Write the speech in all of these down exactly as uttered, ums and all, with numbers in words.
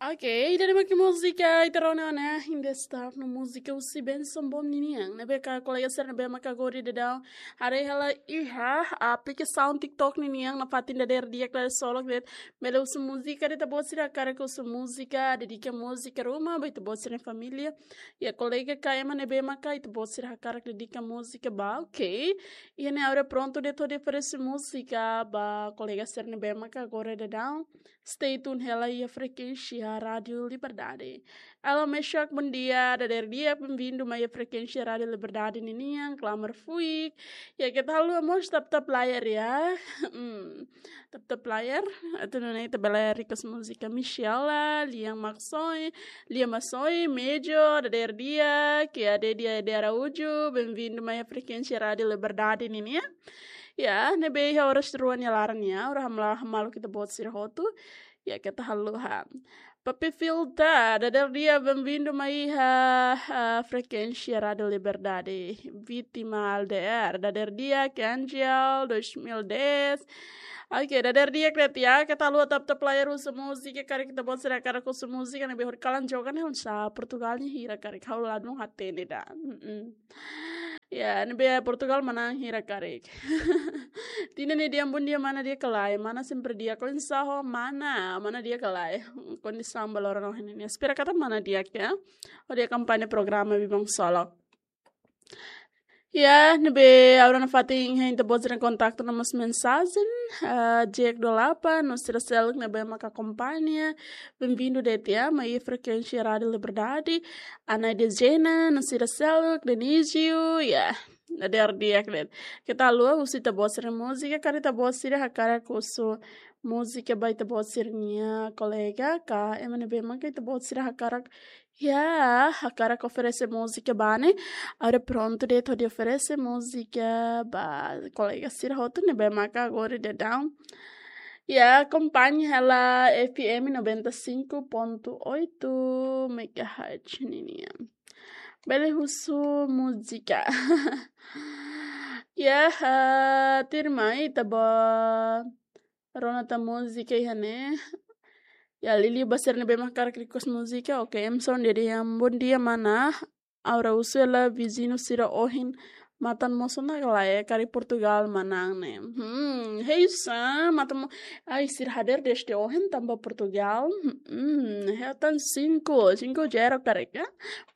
Ok, ida-ne'e mak múzika ita rona ona, Indestar no múzika husi Benson Boom ninian. Ne'ebé ka kolega sira ne'ebé maka agora daudaun haree hela iha aplikasaun TikTok ninian, nafatin dadeer di'ak, dadeer solok de'it. Bele husu múzika de'it, ita-boot sira hakarak husu múzika, dedika múzika ruma ba ita-boot sira-nia família. Iha kolega ka ema ne'ebé maka ita-boot sira hakarak dedika múzika ba, ok. Iha ne'e agora prontu de'it hodi oferese múzika ba kolega sira ne'ebé maka agora daudaun. Stay tune hela iha frekuénsia Rádiu Liberdade. Alô, Meshak, bondia, dadeer di'ak, benvindu mai iha frekuénsia Rádiu Liberdade ninian, klamar fuik. Ya, keta haluha mós tap-tap layar ya. Hmm, tap-tap layar, atu nune'e ita bele request múzika Michela, Lian Maksoi, Lian Maksoi, Mejo, dadeer di'ak, Kia de Dia de Araújo, benvindu mai iha frekuénsia Rádiu Liberdade ninian. Ya, ne'ebé iha oras rua nia laran ya, oras hamlaha, maluk ita-boot sira hotu. Ya, keta haluha. Papi Filta, dadeer di'ak, benvindu mai iha, ah, frekuénsia Rádiu Liberdade. Vítima Aldeer, dadeer di'ak, Angel, dois mil e dez. Ok, dadeer di'ak, keta haluha tap-tap layar, husu múzika, karik ita-boot sira hakarak husu múzika, ne'ebé hodi kalan joga ne'e, hanesan Portugal nia hira karik, ha'u ladún hatene ida. Mm-mm. Ya, ne'ebé Portugal manán hira karik. Tina ne'e di'ak, bondia, mana di'ak ka lae? Mana sempre di'ak, oinsá ho mana, mana di'ak ka lae? Kondisaun ba loron ohin nian. Espera katak mana di'ak ya. Hodi akompaña programa Biban Solok. Ya, ne'ebé agora nafatin hein ita-boot sira-nia kontaktu no mós mensajen, ah, Jack Dolapa, no sira seluk ne'ebé maka akompaña. Benvindu de'it ya, mai iha frekuénsia Rádiu Liberdade. Ana Dezena, no sira seluk, Denizio, ya, dadeer di'ak de'it. Keta haluha husu ita-boot sira-nia múzika, karik ita-boot sira hakarak husu múzika ba ita-boot sira-nia kolega, ka ema ne'ebé maka ita-boot sira hakarak, ya, hakarak oferese múzika ba ne'e, agora prontu de'it hodi oferese múzika ba kolega sira hotu ne'ebé maka agora daudaun. Ya, akompaña hela F M noventa e cinco ponto oito megahertz ninian. Bele husu múzika. Ya, ah, tuirmai ita bá rona tan múzika iha ne'e. Ya, liuliu ba sira ne'ebé maka hakarak request múzika. Ok, Emson Dede yang, bondia mana. Agora husu hela viziñu sira ohin matan mosu ona ka lae, karik Portugal manán ne'e. Hmm, heisa, matan mo-, ai, sira hadeer desde ohin tanba Portugal. Hmm, hetan cinco, cinco zero karik ya.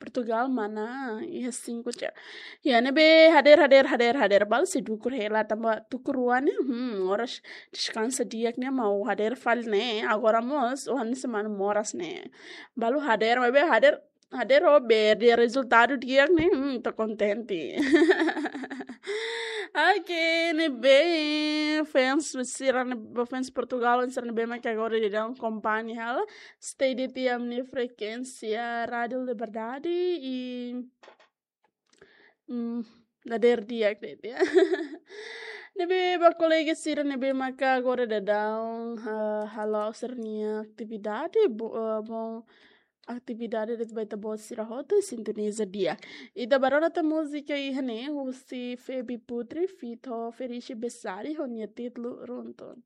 Portugal manán, iha cinco zero. Ya, ne'ebé hadeer, hadeer, hadeer, hadeer. Balu sei dukur hela tanba tuku rua ne'e. Hmm, oras deskansa di'ak ne'e, maun hadeer fali ne'e. Agora mós, ohin semana moras ne'e. Balu hadeer, maibé hadeer, hadeer ho bee, rezultadu di'ak ne'e, hmm, ita kontente. Ok, ne'ebé fans sira ne'e, fans Portugal, sira ne'ebé maka agora daudaun akompaña hela. Stay de'it iha ami-nia frekuénsia Rádiu Liberdade i, hmm, dadeer di'ak de'it ya. Ne'ebé ba kolega sira ne'ebé maka agora daudaun, ah, hala'o sira-nia atividade, bo-, ah, bom atividade de'it ba ita-boot sira hotu, sintoniza di'ak. Ita bá rona tan múzika iha ne'e, husi Febi Putri, feat ho Ferici Bessari, ho nia títulu Runton.